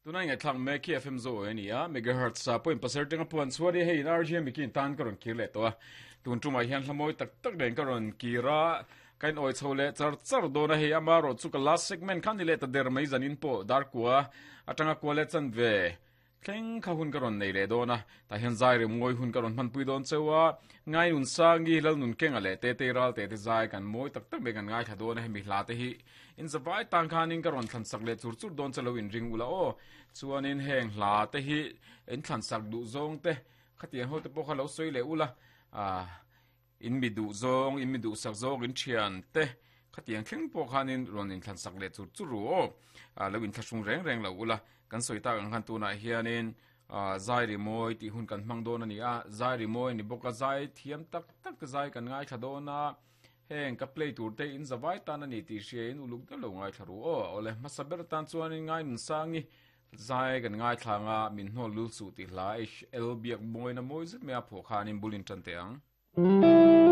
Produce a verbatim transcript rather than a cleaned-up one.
Tunai ngai thlak mek hi F M Zo a ni a, megahertz a point pasarih atanga puan chhuat hi hei in R G M ikin tan ka rawn kir leh tawh a. Tun tumah hian hla mawi tak tak nen ka rawn kir a, ka in awi chho leh char char dawn a, hei amarawh chu ka last segment kha ni leh ta der mai zanin pawh dar kua atanga kua leh chan ve thleng kha hun ka rawn nei leh dawn a, tah hian zai rem ngawi hun ka rawn hmanpui dawn cheu a, ngai nun sangi lal nun kenga leh te te ral te te zai kan mawi tak tak mai kan ngaithla dawn a, hemi hla te hi in zavai tang khanin ka rawn thlan sak leh chur chur dawn che lo in ring ula aw, chuanin heng hla te hi in thlan sak duh zawng te khatiang ho te pawh kha lo sawi leh ula, ah in mi duh zawng in mi duh sak zawng in thian te khatiang thleng pawh khanin rawn in thlan sak leh chur chur ru aw, ah lo in thlahrung reng reng lo ula. Kan sawi tak ang khan tunah hianin zai ri mawi tih hun kan hmang dawn a ni a, zai ri mawi a ni bawk a, zai thiam tak tak te zai kan ngaithla dawn a, heng ka play tur te in zavai tan a ni tih hriain uluk deuh lo ngaithla ru aw. Awle hmasa ber tan chuanin ngai nun sangi zai kan ngaithla anga min hnawl lul suh tih hla H L biak mawina mawi zet mai a phuah khanin bulin tan teh ang.